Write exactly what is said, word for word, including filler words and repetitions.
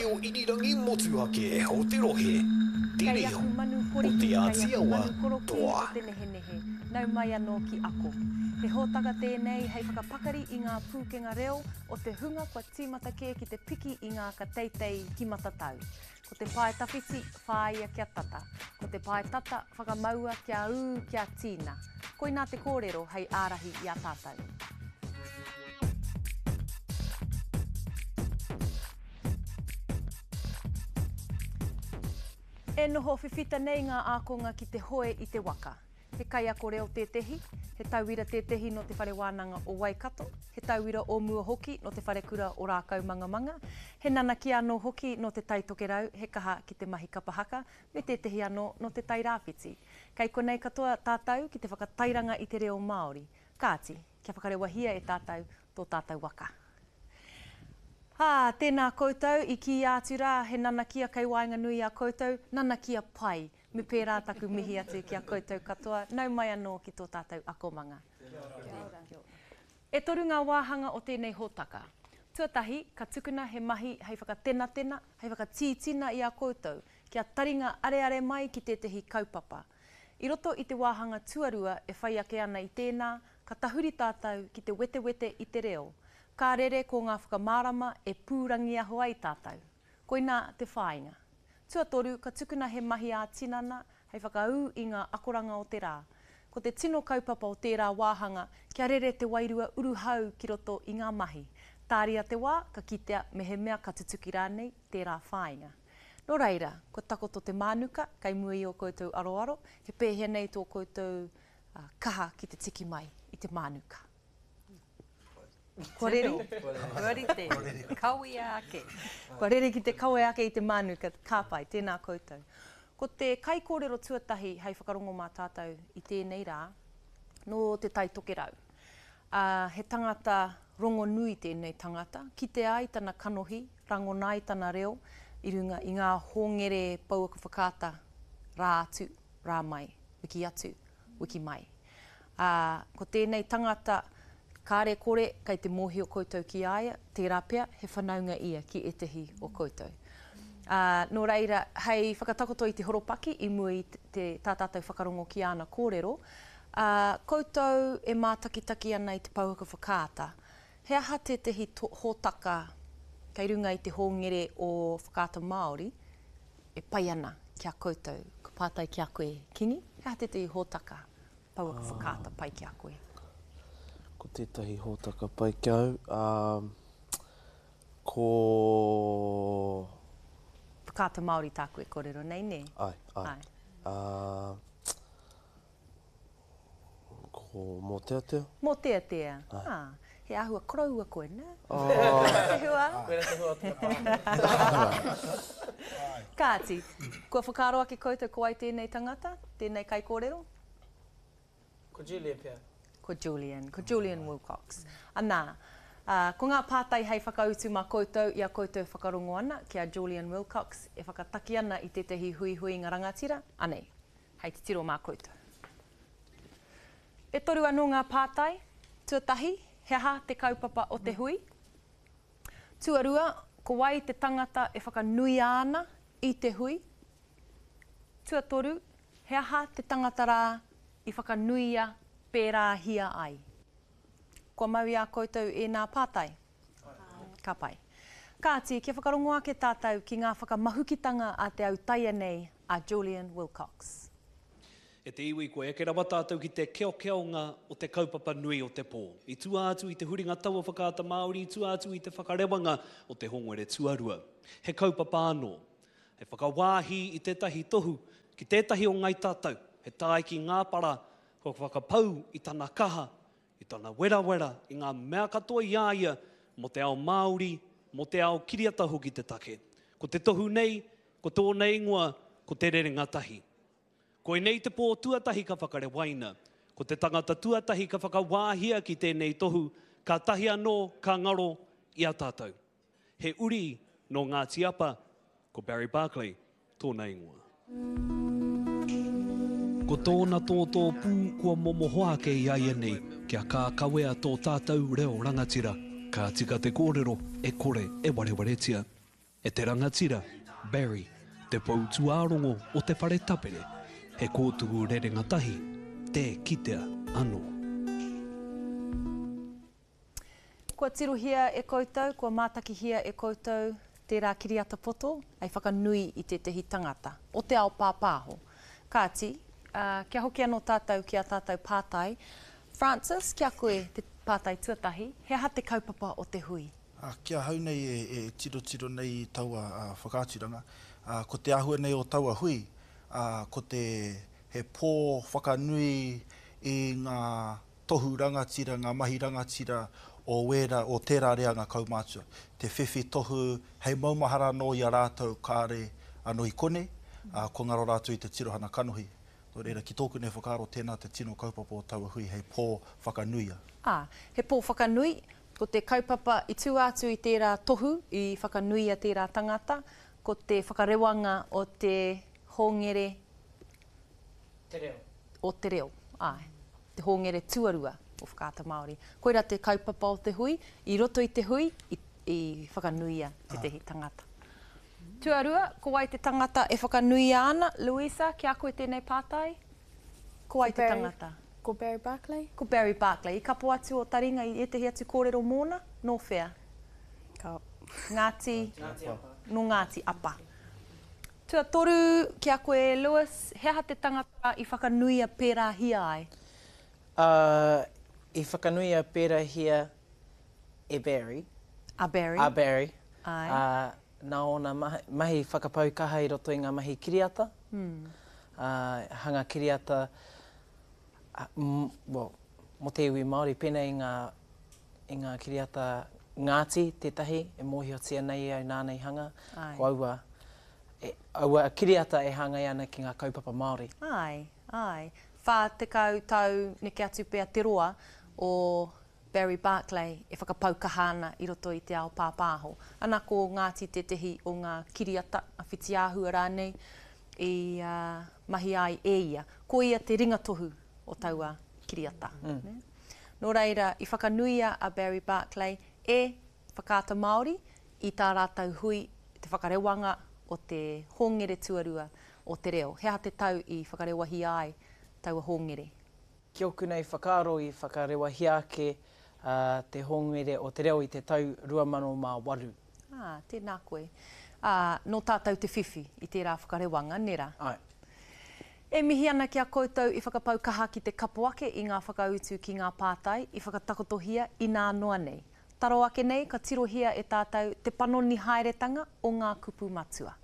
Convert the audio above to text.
reo irirangi motuhake o te rohe, te Kei reo aku manu o koriki, Te kei aku Ātiawa manu korokī toa. o te nehenehe, nau mai anō ki ako. He hōtaka tēnei hei whakapakari i ngā pūkenga reo o te hunga kua tīmata kē ki te piki i ngā ka teitei ki matatau. Ko te pae tawhiti, whāia kia tata. Ko te pae tata, whakamaua kia ū, kia tīna. Koinā te kōrero hei ārahi i a tātou. E noho whiwhita nei ngā ākonga ki te hoe i te waka. He kaiako reo tētehi, he tauira tētehi nō te whare wānanga o Waikato, he tauira o mua hoki nō te wharekura o Rākaumangamanga, he nanakia anō hoki nō te Tai Tokerau, he kaha ki te mahi kapa haka, me tētehi anō nō te Tai Rāwhiti. Kei konei katoa tātou ki te whakatairanga i te reo Māori. Kāti, kia whakarewahia e tātou tō tātou waka. Ā, tēnā koutou, i kīia atu rā, he nanakia kei waenganui i a koutou, nanakia pai. Me pērā taku mihi atu ki a koutou katoa, nau mai anō ki tō tātou akomanga. E toru ngā wāhanga o tēnei hōtaka. Tuatahi, ka tukuna he mahi hei whakatenatena, hei whakatītina i a koutou, kia taringa areare mai ki tētehi kaupapa. I roto i te wāhanga tuarua e whai ake ana i tēnā, ka tahuri tātou ki te wetewete i te reo. Ka rere ko ngā whakamārama e pūrangiaho ai tātou. Koinā te whāinga. Tuatoru, ka tukuna he mahi ā-tinana hei whakaū i ngā akoranga o te rā. Ko te tino kaupapa o tērā wāhanga, kia rere te wairua uruhau ki roto i ngā mahi. Tāria te wā, ka kitea mehemea ka tutuki rānei tērā whāinga. Nō reira, kua takoto te mānuka, kei mua i ō koutou aroaro, he pēhea nei tō koutou uh, kaha ki te tiki mai i te mānuka. Kua rere? Kua rite, kawea ake. Kua rere ki te kawe ake i te mānuka, ka pai, tēnā koutou. Ko te kaikōrero tuatahi hei whakarongo mā tātou i tēnei rā, nō te Tai Tokerau. Uh, he tangata rongonui tēnei tangata, kite ai tana kanohi, rangona ai tana reo, i runga i ngā hōngere pouaka whakaata rā atu, rā mai, wiki atu, wiki mai. Uh, ko tēnei tangata, kāre kore, kei te mōhio koutou ki a ia, tērā pea, he whanaunga ia ki ētehi o koutou. Uh, nō reira, hei whakatakoto i te horopaki i mua i te, te tā tātou whakarongo ki āna kōrero, uh, koutou e mātakitaki ana i te pouaka whakaata, he aha tētehi to, hōtaka kei runga i te hōngere o Whakaata Māori e pai ana ki a koutou? Ka pātai ki a koe, Kingi, he aha tētehi hōtaka pouaka whakaata pai ki a koe? Ko tētahi hōtaka pai ki au, um, ko... Whakaata Māori tāku e kōrero nei, nē? Ai, ai. Ai. Uh, ko Mōteatea. Mōteatea. Ah, he āhua koroua koe, nē? Oh. Te hua? Koira te hua o te pānui. Kāti, kua whakaaro ake koutou ko ai tēnei tangata, tēnei kaikōrero? Ko Julian pea. Ko Julian, ko Julian Wilcox. Anā, uh, ko ngā pātai hei whakautu mā koutou i a koutou whakarongo ana ki a Julian Wilcox e whakataki ana i tētehi huihuinga rangatira, anei, hei titiro mā koutou. E toru anō ngā pātai. Tuatahi, he aha te kaupapa o te hui? Tuarua, ko wai te tangata e whakanuia ana i te hui? Tuatoru, he aha te tangata rā i whakanuia pērāhia ai? Kua mau i a koutou e nā pātai? Ka pai. Kāti, kia whakarongo ake tātou ki ngā whakamahukitanga a te autaia nei a Julian Wilcox. E te iwi, kua eke rawa tātou ki te keokeonga o te kaupapa nui o te pō. I tua atu i te huringa taua Whakaata Māori, i tua atu i te whakarewanga o te hongere tuarua. He kaupapa anō. He whakawāhi i tētahi tohu ki tētahi o ngai tātou. He tae ki ngā para, kua whakapau i tana kaha, i tana werawera, i ngā mea katoa i a ia mō te ao Māori, mō te ao kiriata hoki te take. Ko te tohu nei, ko tōna ingoa, ko te rerenga tahi. Koinei te pō tuatahi ka whakarewaina. Ko te tangata tuatahi ka whakawāhia ki tēnei tohu, ka tahi anō ka ngaro i a tātou. He uri nō Ngāti Apa, ko Barry Barclay tōna ingoa. Ko tōna tōtō pū kua momoho ake i a ia nei, kia kākawea tō tātou reo rangatira. Ka tika te kōrero e kore e warewaretia. E te rangatira, Barry, te pou tūārongo o te whare tapere, he kōtuku rerenga tahi, tē kitea anō. Kua tirohia e koutou, kua mātakihia e koutou tērā kiriata poto hei whakanui i tētehi tangata o te ao pāpāho. Kāti, kia hoki anō tātou ki ā tātou pātai. Francis, ki a koe te pātai tuatahi, he aha te kaupapa o te hui? Ki ahau nei e tirotiro nei i taua whakaaturanga, ko te āhua nei o taua hui, ko te he pō whakanui i ngā tohu rangatira, ngā mahi rangatira o wērā, o tērā reanga kaumātua. Te whiwhi tohu hei maumahara anō i a rātou kāre anō i konei, kua ngaro rātou i te tirohana kanohi. Nō reira, ki tōku nei whakaaro, tēnā te tino kaupapa o taua hui hei pō whakanuia. Ā, he pō whakanui, ko te kaupapa i tua atu i tērā tohu, i whakanuia tērā tangata, ko te whakarewanga o te hōngere Te reo. O te reo, āe, te hōngere tuarua o Whakaata Māori. Koirā te kaupapa o te hui, i roto i te hui, i, i whakanuia tētehi tangata. Tuarua, ko wai te tangata e whakanuia ana? Louisa, ki a koe tēnei pātai? Ko wai te tangata? Ko Barry Barclay. Ko Barry Barclay. I kapo atu o taringa i ētehi atu kōrero mōna? Nō whea? Ka. Ngāti? Ngāti Apa. Nō Ngāti Apa. Tuatoru, ki a koe, Lewis, he aha te tangata i whakanuia pērāhia ai? Uh, i whakanuia pērāhia e Barry. A Barry. A Barry. Ai. Uh, nā ōna mahi whakapau kaha i roto i ngā mahi kiriata, mm. uh, hanga kiriata, uh, m, well, mō te iwi Māori, pēnei i ngā, i ngā kiriata Ngāti tētahi, e mōhiotia nei au nāna i hanga, Ai. ko aua, e, aua kiriata e hāngai ana ki ngā kaupapa Māori. Ai, ai. Whā tekau tau neke atu pea te roa o Barry Barclay e whakapau kaha ana i roto i te ao pāpāho. Ana ko Ngāti tētehi o ngā kiriata, a whitiāhua rānei, i uh, mahi ai e ia. Ko ia te ringatohu o taua kiriata. Mm. Nō reira, i whakanuia a Barry Barclay e Whakaata Māori i tā rātou hui te whakarewanga o te hōngere tuarua o te reo. He aha te tau i whakarewahia ai taua hōngere? Ki ōku nei whakaaro i whakarewahia ake uh, te hōngere o te reo i te tau rua mano mā waru. Ah, tēnā koe. Ah, nō tātou te whiwhi i tērā whakarewanga, nera? Ai. E mihi ana ki a koutou i whakapau kaha ki te kapo ake i ngā whakautu ki ngā pātai i whakatakotohia inā noa nei. Taro ake nei ka tirohia e tātou te panoni haeretanga o ngā kupu matua.